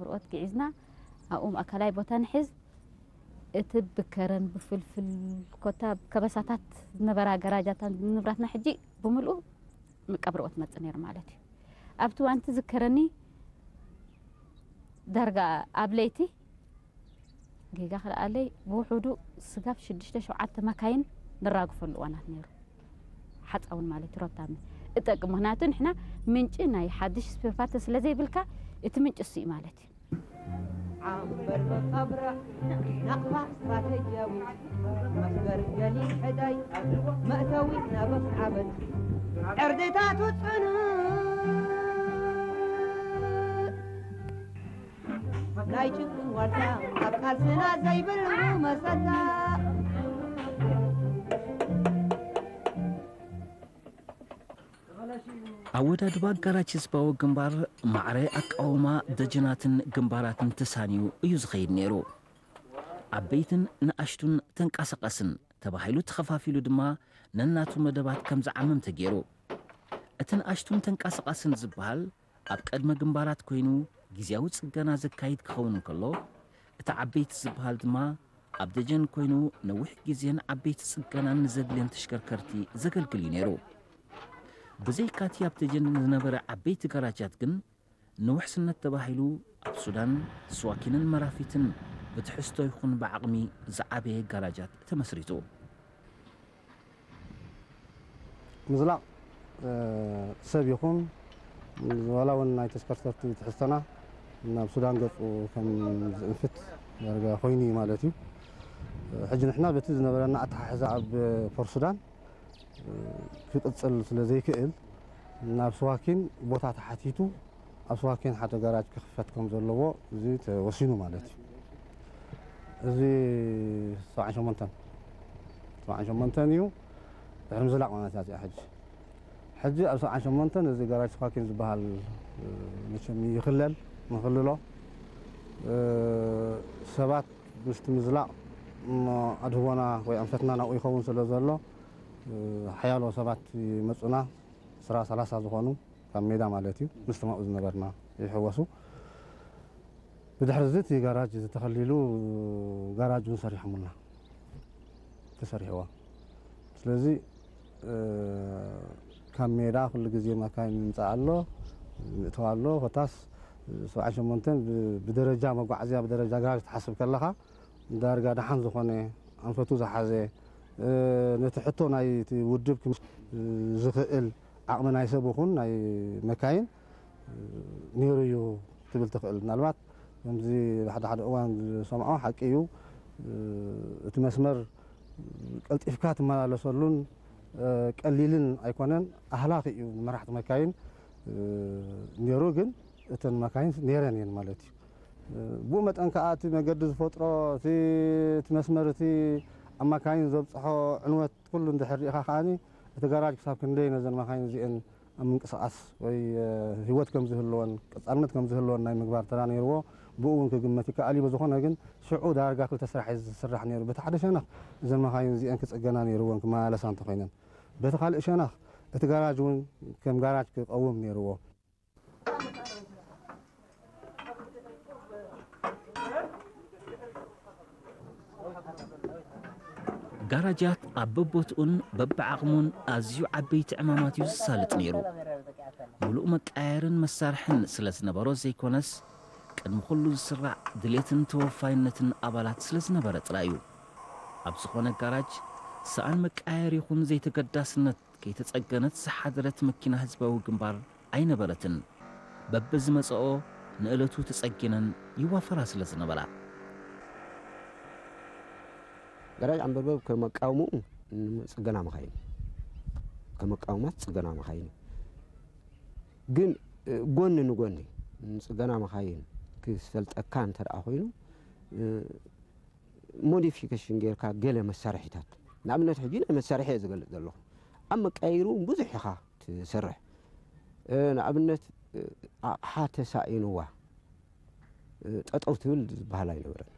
ርኦት ግዒዝና ኣብኡ ማእከላይ ቦታ ንሕዝ። እቲ ብከረን ብፍልፍል ኮታ ከበሳታት ዝነበራ ገራጃታት ንብረትና ሕጂ ብምልኡ መቃብር ኦት መጽእ ነይሩ ማለት እዩ። ኣብቲ እዋን ትዝከረኒ ዳርጋ ኣብ ለይቲ ጌጋ ክልኣለይ ብውሑዱ ስጋብ ሽዱሽተ ሸውዓተ መካይን ንራግፈሉ እዋናት ነይሩ። ሓፃውን ማለት እዩ ሮታሚ እጠቅም። ምክንያቱ ንሕና ምንጪ ናይ ሓድሽ ስፔርፓርት ስለ ዘይብልካ እቲ ምንጪ እሱ እዩ ማለት እዩ። ዓንበር መቃብራ ናቕፋ ስትራተጂያዊት መስበር ገሊል ሕዳይ መእተዊ ናበስ ዓበት ዕርድታቱ ጽኑዕ ናይ ጭንቅን ዋልታ ኣብ ቃልስና ዘይብሉ መሰታ። ኣወዳድባ ኣጋራጅ ህዝባዊ ግንባር ማዕረ ኣቃውማ ደጀናትን ግንባራትን ተሳንዩ እዩ ዝኸይድ ነይሩ። ዓበይትን ንኣሽቱን ተንቀሳቐስን ተባሂሉ ተኸፋፊሉ ድማ ነናቱ መደባት ከም ዝዓምም ተገይሩ። እቲ ንኣሽቱን ተንቀሳቐስን ዝበሃል ኣብ ቅድመ ግንባራት ኮይኑ ግዝያዊ ጽገና ዘካይድ ክኸውን እንከሎ፣ እቲ ዓበይቲ ዝበሃል ድማ ኣብ ደጀን ኮይኑ ነዊሕ ግዜን ዓበይቲ ጽገናን ንዘድልየን ተሽከርከርቲ ዘገልግል እዩ ነይሩ። ብዘይካቲ ኣብ ደጀን ዝነበረ ዓበይቲ ጋራጃት ግን ንውሕስነት ተባሂሉ ኣብ ሱዳን ስዋኪንን መራፊትን ብትሕዝቶ ይኹን ብዓቕሚ ዝዓበየ ጋራጃት ተመስሪቱ። ምዝላቕ ሰብ ይኹን ዋላ እውን ናይ ተሽከርከርቲ ትሕዝቶና ናብ ሱዳን ገፁ ከም ዝእንፍት ዳርጋ ኮይኑ እዩ ማለት እዩ። ሕጂ ንሕና በቲ ዝነበረና ኣተሓሕዛ ኣብ ፖርት ሱዳን ክቕፅል ስለ ዘይክእል ናብ ስዋኪን ቦታ ተሓቲቱ ኣብ ስዋኪን ሓደ ጋራጅ ክኽፈት ከም ዘለዎ እዚ ተወሲኑ ማለት እዩ። እዚ ሰብዓን ሸሞንተን ሰብዓን ሸሞንተን እዩ። ድሕሪ ምዝላቕ ማለት እያ እዚኣ ሕጂ። ሕጂ ኣብ ሰብዓን ሸሞንተን እዚ ጋራጅ ስኳኪን ዝበሃል መቸም ይኽለል ንኽልሎ ሰባት ምስቲ ምዝላቕ እሞ ኣድህቦና ወይ ኣንፈትና ናብኡ ይኸውን ስለ ዘሎ ሓያሎ ሰባት ይመፁና። ዕስራ ሰላሳ ዝኾኑ ካብ ሜዳ ማለት እዩ ምስቶም ኣብኡ ዝነበርና ይሕወሱ። ብድሕሪ እዚ እቲ ጋራጅ ተኸሊሉ ጋራጅ እውን ሰሪሖምልና ተሰሪሕዋ። ስለዚ ካብ ሜዳ ኩሉ ግዜ መካይን ይምፃእ ኣሎ ምእተው ኣሎ። ኮታስ ሰብዓን ሸሞንተን ብደረጃ መጓዓዝያ ብደረጃ ጋራጅ ትሓስብ ከለኻ ዳርጋ ደሓን ዝኾነ ኣንፈቱ ዝሓዘ ነቲ ሕቶ ናይ ውድብ ዝኽእል ዓቕሚ ናይ ሰብ ይኹን ናይ መካይን ነይሩ እዩ ትብል ትኽእል። ምናልባት ከምዚ ሓደ ሓደ እዋን ዝሰምዖ ሓቂ እዩ። እቲ መስመር ቀልጢፍካ ትመላለሰሉን ቀሊልን ኣይኮነን። ኣህላኺ እዩ ንመራሕቲ መካይን ነይሩ፣ ግን እተን መካይን ነይረን እየን ማለት እዩ። ብኡ መጠን ከዓ እቲ መገዲ ዝፈጥሮ እቲ እቲ መስመር እቲ ኣብ መካይን ዘብፅሖ ዕንወት ኩሉ እንድሕር ርኢኻ ከዓኒ እቲ ጋራጅ ክሳብ ክንደይ ነዘን መካይን እዚአን ኣብ ምንቅስቃስ ወይ ህይወት ከም ዝህልወን ቀፃልነት ከም ዝህልወን ናይ ምግባር ተራ ነይርዎ። ብኡ እውን ክግመት ይከኣል እዩ። ብዝኾነ ግን ሽዑ ዳርጋ ክልተ ስራሕ እዩ ዝስራሕ ነይሩ። በቲ ሓደ ሸነኽ እዘን መኻይን እዚአን ክፅገና ነይርወን ክመላለሳ እንተኾይነን፣ በቲ ካልእ ሸነኽ እቲ ጋራጅ እውን ከም ጋራጅ ክቐውም ነይርዎ። ጋራጃት ኣብ በቦትኡን በብዓቕሙን ኣዝዩ ዓበይቲ ዕማማት እዩ ዝሳልጥ ነይሩ። ምሉእ መቃየርን መሳርሕን ስለ ዝነበሮ ዘይኮነስ፣ ቅድሚ ኩሉ ዝስራዕ ድሌትን ተወፋይነትን ኣባላት ስለ ዝነበረ ጥራይ እዩ። ኣብ ዝኾነ ጋራጅ ሰኣን መቃየር ይኹን ዘይተገዳስነት ከይተጸገነት ዝሓደረት መኪና ህዝባዊ ግንባር ኣይነበረትን። በብዝመጽኦ ንእለቱ ተጸጊነን ይዋፈራ ስለ ዝነበራ። ገራጅ ዓንበርበብ ከመቃውምኡ ንጽገና መኻይን ከመቃውማት ጽገና መኻይን ግን ጎኒ ንጎኒ ንጽገና መኻይን ክሰልጠካ እንተ ደኣ ኮይኑ ሞዲፊኬሽን ጌርካ ገለ መሳርሒታት ንኣብነት ሕጂ ናይ መሳርሒ እየ ዝገልጽ ዘለኹ ኣብ መቃየሩ ብዙሕ ኢኻ ትሰርሕ ንኣብነት ኣቕሓ ተሳኢንዋ ጠጠው ትብል ዝበሃል ኣይነበረን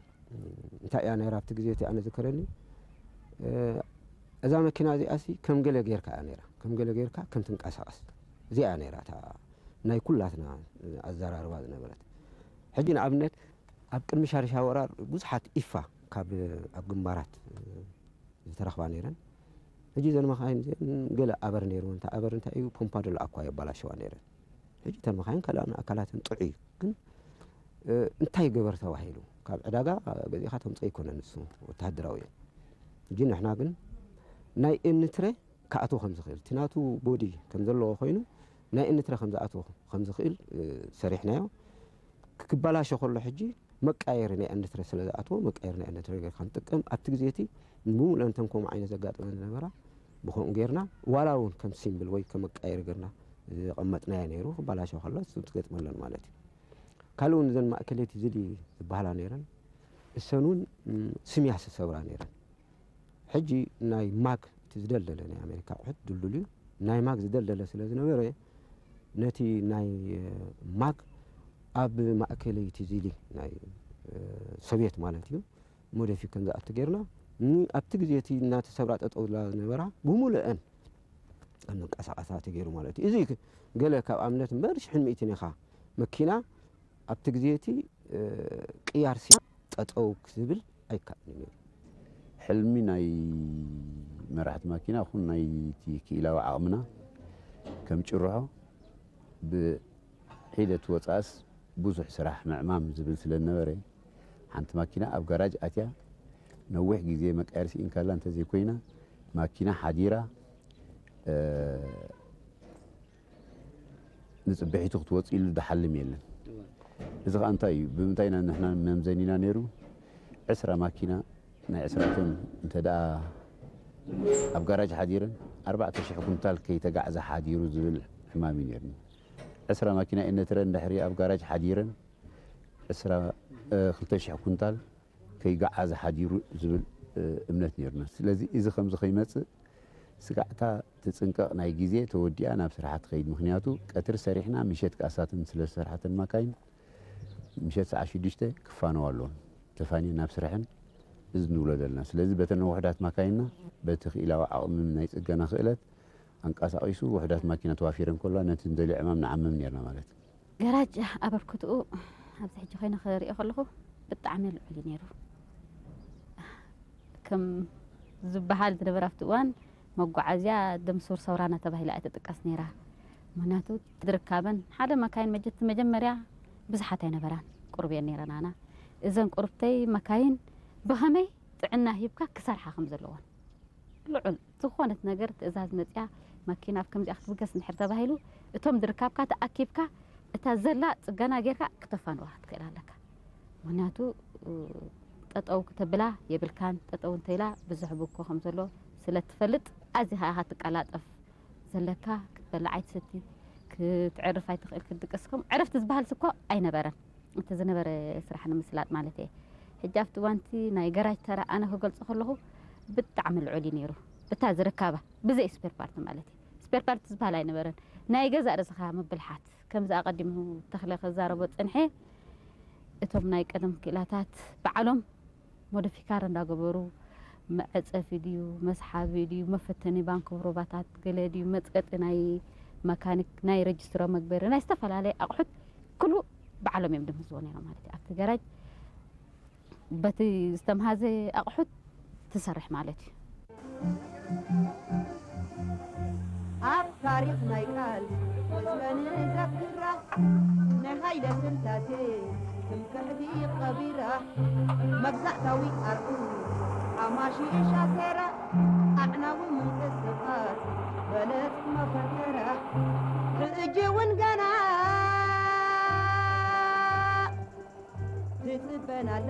እንታይ እያ ነይራ ኣብቲ ግዜ እቲ ኣነ ዝከረኒ እዛ መኪና እዚኣ ሲ ከም ገለ ጌርካ እያ ነይራ ከም ገለ ጌርካ ከም ትንቀሳቐስ እዚኣ እያ ነይራ እታ ናይ ኩላትና ኣዘራርባ ዝነበረት ሕጂ ንኣብነት ኣብ ቅድሚ ሻርሻ ወራር ብዙሓት ኢፋ ካብ ኣብ ግንባራት ዝተረኽባ ነይረን። ሕጂ እዘን መኻይን እዚአን ገለ ኣበር ነይሩ፣ እንተ ኣበር እንታይ እዩ፣ ፖምፓ ደሎ ኣኳ የባላሸዋ ነይረን። ሕጂ እተን መኻይን ካልኣን ኣካላትን ጥዑይ እዩ። ግን እንታይ ገበር ተባሂሉ ካብ ዕዳጋ ገዚእኻ ተምፀ ይኮነ ንሱ ወተሃደራዊ እዩ። ሕጂ ንሕና ግን ናይ ኤንትረ ክኣትዎ ከም ዝኽእል፣ እቲ ናቱ ቦዲ ከም ዘለዎ ኮይኑ ናይ ኤንትረ ከም ዝኣትዎ ከም ዝኽእል ሰሪሕናዮ። ክባላሾ ከሎ ሕጂ መቃየሪ ናይ ኤንትረ ስለ ዝኣትዎ መቃየሪ ናይ ኤንትረ ጌርካ ንጥቀም። ኣብቲ ግዜ እቲ ብምሉእ እንተን ከምኡ ዓይነት ዘጋጥመን ዝነበራ ብኸምኡ ጌርና ዋላ እውን ከም ሲምብል ወይ ከም መቃየሪ ጌርና ዘቐመጥናዮ ነይሩ። ክባላሾ ከሎ እሱ ትገጥመለን ማለት እዩ። ካልእ እውን እዘን ማእከለይቲ ዝሊ ዝበሃላ ነይረን እሰን እውን ስምያስ ዝሰብራ ነይረን። ሕጂ ናይ ማግ እቲ ዝደልደለ ናይ ኣሜሪካ ኣቑሑት ድልዱል እዩ። ናይ ማግ ዝደልደለ ስለ ዝነበረ ነቲ ናይ ማግ ኣብ ማእከለይቲ ዚሊ ናይ ሶቪየት ማለት እዩ ሞደፊክ ከም ዝኣቱ ጌርና ኣብቲ ግዜ እቲ እናተሰብራ ጠጠው ዝላ ዝነበራ ብምሉአን ከም ዝንቀሳቐሳ ተገይሩ ማለት እዩ። እዚ ገለ ካብ ኣብነት እምበር ሽሕን ሚእትን ኢኻ መኪና ኣብቲ ግዜ እቲ ቅያር ሲ ጠጠው ክብል ኣይከኣልን እዩ። ሕልሚ ናይ መራሕቲ ማኪና ኹን ናይቲ ክኢላዊ ዓቕምና ከም ጭርሖ ብሒደት ወፃእስ ብዙሕ ስራሕ ምዕማም ዝብል ስለ ዝነበረ ሓንቲ ማኪና ኣብ ጋራጅ ኣትያ ነዊሕ ግዜ መቃየር ስኢንካላ እንተዘይኮይና ማኪና ሓዲራ ንፅብሒቱ ክትወፅእ ኢሉ ዝሓልም የለን። እዚ ከዓ እንታይ እዩ? ብምንታይ ኢና ንሕና መምዘኒና ነይሩ? ዕስራ ማኪና ናይ ዕስራ ቶን እንተ ደኣ ኣብ ጋራጅ ሓዲረን ኣርባዕተ ሽሕ ኩንታል ከይተጋዕዘ ሓዲሩ ዝብል ሕማም እዩ ነይርና። ዕስራ ማኪና ኤነትረ እንድሕሪ ኣብ ጋራጅ ሓዲረን ዕስራ ክልተ ሽሕ ኩንታል ከይገዓዘ ሓዲሩ ዝብል እምነት ነይርና። ስለዚ እዚ ከምዚ ከይመፅእ ስጋዕታ ትፅንቀቕ ናይ ግዜ ተወዲኣ ናብ ስራሓ ትኸይድ። ምክንያቱ ቀትሪ ሰሪሕና ምሸት ከኣሳትን ስለ ዝሰርሓተን ማካይን ምሸት ሰዓት ሽዱሽተ ክፋነዋ ኣለዎም። ተፋንየን ናብ ስራሐን እዚ ንብሎ ዘለና። ስለዚ በተን ውሑዳት ማካይንና በቲ ክኢላዊ ዓቕሚ ናይ ፅገና ክእለት ኣንቀሳቒሱ ውሑዳት ማኪና ተዋፊረን ከለዋ ነቲ ንደልዮ ዕማም ንዓምም ነርና ማለት እዩ። ገራጅ ኣበርክትኡ ኣብዚ ሕጂ ኮይነ ክሪኦ ከለኹ ብጣዕሚ ልዑል እዩ ነይሩ። ከም ዝበሃል ዝነበረ ኣብቲ እዋን መጓዓዝያ ደምሱር ሰውራና ተባሂላ እያ ትጥቀስ ነይራ። ምክንያቱ ዝርካበን ሓደ መካይን መጀት መጀመርያ ብዙሓት ኣይነበራን፣ ቁሩብ እየን ነይረናና። እዘን ቁሩብተይ መካይን ብኸመይ ጥዕና ሂብካ ክሰርሓ ከም ዘለዎን ልዑል ዝኾነት ነገር ትእዛዝ መፅያ ማኪና ኣብ ከምዚኣ ክትብገስ እንድሕር ተባሂሉ እቶም ዝርካብካ ተኣኪብካ እታ ዘላ ፅገና ጌርካ ክተፋንዋ ክትክእል ኣለካ። ምክንያቱ ጠጠው ክተብላ የብልካን። ጠጠው እንተኢላ ብዙሕ ብኮ ከም ዘሎ ስለ ትፈልጥ ኣዚኻ ኢኻ ትቀላጠፍ ዘለካ። ክትበልዕ ኣይትሰቲ፣ ክትዕርፍ ኣይትኽእል፣ ክትድቅስ ከም ዕረፍቲ ዝበሃል ስኮ ኣይነበረን። እቲ ዝነበረ ስራሕ ንምስላጥ ማለት እየ። ሕጂ ኣብቲ እዋንቲ ናይ ገራጅ ተራ ኣነ ክገልጾ ከለኹ ብጣዕሚ ልዑል እዩ ነይሩ። ብታ ዝርካባ ብዘይ ስፔር ፓርት ማለት እዩ። ስፔር ፓርት ዝበሃል ኣይነበረን። ናይ ገዛእ ርእስኻ ምብልሓት ከምዚ ኣቐዲሙ ተኽለ ከዛረቦ ጽንሐ እቶም ናይ ቀደም ክኢላታት ባዕሎም ሞዲፊካር እንዳገበሩ መዐጸፊ ድዩ መስሓቢ ድዩ መፈተኒ ባንኮ ሮባታት ገለ ድዩ መጽቀጢ ናይ መካኒክ ናይ ረጅስትሮ መግበሪ ናይ ዝተፈላለየ ኣቑሑት ኩሉ ባዕሎም እዮም ድምህዝዎ ነይሮም ማለት እዩ ኣብቲ ገራጅ በቲ ዝተምሃዘ ኣቑሑት ትሰርሕ ማለት እዩ ኣብ ታሪኽ ናይ ቃል ወስበን ዘክራ ናይ ሃይለ ስላሴ ትምክሕቲ ቀቢራ መግዛእታዊ ኣርዑ ኣማሺሻ ሰራ ኣዕናዊ ምንቅስቓስ በለጽ መፈከራ ሕጂ እውን ገና ትጽበናል